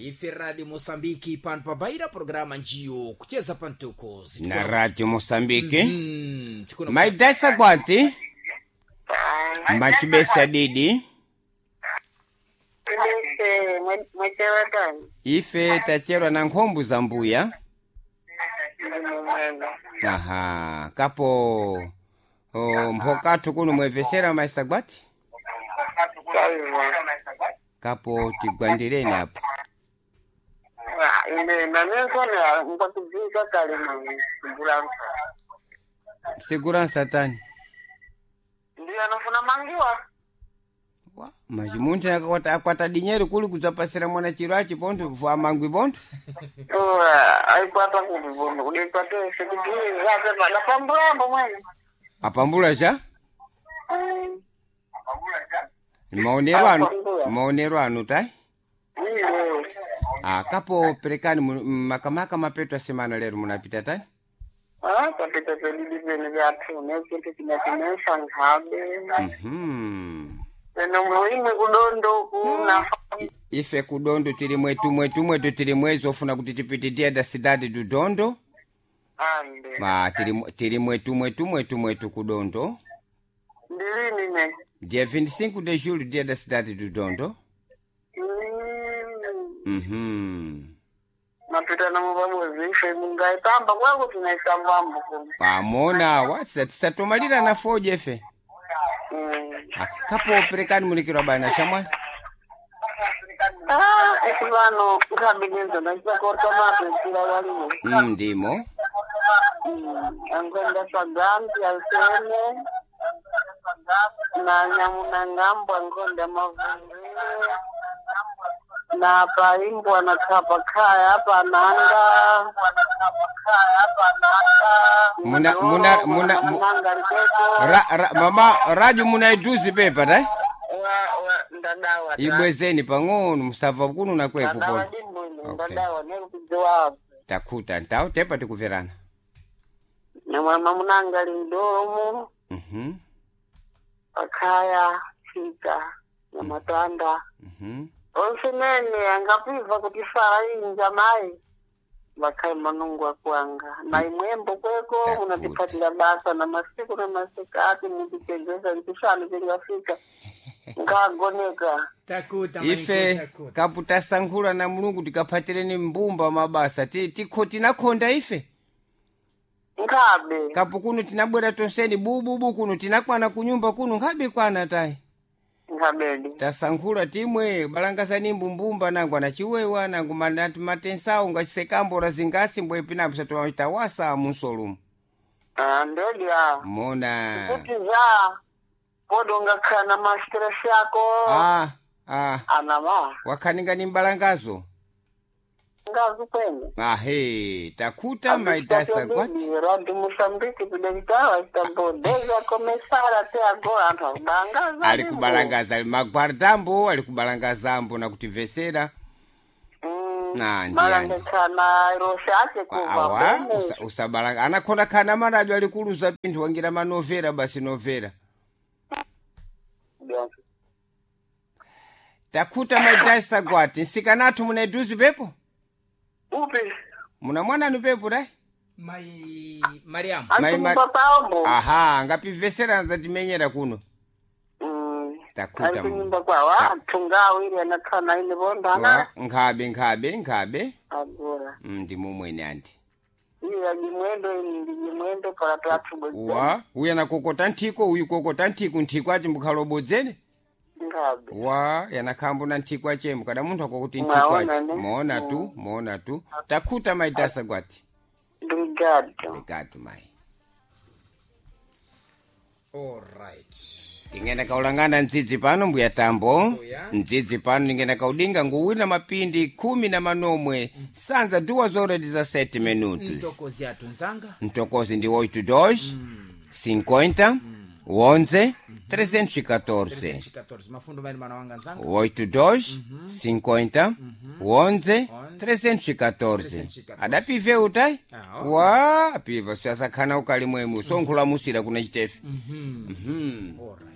Ife Radio Mosambiki pano pabaira programa njiyo kucheza pantokozi Na Radio Mosambiki. Tikuna Maidasa kwati machibesa didi. Ibese mwechewatani Ife tacherwa na nkhombu za mbuya. ndimumwena. Aha, kapo o, mphokathu kuno mwevesera maisa gwati. Kaiwa. Kapo tigwandireni apo. Ine nanensone nkwatibvisa kale mbulansa. Segurança tani. Ndiyo anofuna mangiwa. Wa, maji munthu akakwata akwata dinyeru kuli kudzapasira mwana chiro achi pontho kufa mangwi pontho. Ora aikwata kuti vono kudikwate sekutizape pada pambulambo mwene. Apambula cha? Maonero anu, Apambula. maonero anu tai. Iyo. Ah, kapo perekani makamaka mapeto a semana lero munapita tani? Ah, tapita pedidi pene vyathu nechintu chinatinesa nkhabe. Peno muimwe kudondo kuna. Ife kudondo tili mwetu mwetu mwetu tili mwezi ofuna kuti tipite dia da cidade do Dondo. Ande. Ma tili mwetu mwetu mwetu mwetu kudondo. Ndilini ne. Dia 25 de julho dia da cidade do Dondo. Mapita namo pamodzi ife mungaitamba kwangu tinaisambambo kuno. Pamona wa tisatomalira na foje ife. Ah, kapo perekani mulikirwa bana shamwali. Ah, esi pano nkhabinenzo ndachisakorta mapesira waliwo. Ndimo. Ankwenda sagampi alsene na nyamunangambo ankonda mavungile na paimbwa na khapa khaya pananga. Muna- Nanga likeko. Ra, mama radio munaiduzi pepa tai? Ndadawa Ibwezeni pang'ono musava kuno nakwepo ndadawa pona. dimbwino. Okay. Ndadawa nerikudziwapo. Takhuta ntawo tepa tikuverana. Namwama munanga lindolomu pakhaya chika namatanda onse nene angapibva kuti fara inja mai vakhai manungu akuanga na imwembo kweko. Takuta. Munatiphatira basa na masiku na masikati mutichezesa nchisanu chingafika nkagoneka. Takuta maiko, Ife takuta. kaputasankhula na Mulungu tikaphatireni mbumba mabasa tikho tinakhonda ife. Nkhabe. Kapo kuno tinabwera tonseni bububu kuno tinakwana kunyumba kuno nkhabe kwana tai. Nkhabedi. Tasankhula timwe balangazani mbumbumba nangu anachiwewa nangu manati matensawo ngachisekambora zingasi mbwepi napo satoitawasa munsolumu. Ah, ndedi a Mona. kuti za podo ngakhala na mastress yako. Ah, ah. Anama. Wakhaninga ni mbalangazo. Ngazi kwene. Ahe, takuta maitasa kwati. Radio Mosambiki kudekitawa chitabodeza komesara te agora anthu akubalangaza. Ali kubalangaza ali magwardambo ali kubalangazambo na kutivesera. Na, ndiyani. Malangetsana rose ake kuva Awa bene. usabalanga anakhona khana marajo ali kuluza pinthu wangira manovera basi novera. Takuta maitasa kwati nsikanathu munaiduzi pepo. Upi? Muna mwananu pepo dai. Mai Mariamu. Ali paombo. Aha, ngapivesera nzatimenyera kuno. Takuta. Ali kunyumba kwawo athunga awiri anakhana ine bondana. Wa, nkhabe nkhabe nkhabe. Agora. Ndimo mwene anti. Iya jimwendo ini ndi jimwendo para twathu. Wa, uya nakokota nthiko uyu kokota nthiko nthiko achi mbukhalobodzene. Ngabe. Wa, yanakhambo na nthiko achembo kada munthu akokuti nthiko Mwaona achi. ne? Moona tu, moona tu. Takhuta maitasa kwati. Obrigado. Obrigado mai. Alright. Tingenda kaulangana ndzidzi pano mbuya tambo. Mbuya. Ndzidzi pano ningenda kaudinga nguwina mapindi 19 sanza 2 horas 17 minutos. Ntokozi athu nzanga. Mtokozi ndi 82 50 11 314. 314 mafundo maini mana wanga nzanga. 82 50 11 314. 314. Adapive utai? Ah, okay. Wa, apiva siasakhana ukali mwemu sonkhulamusira kuna chitefe. Alright.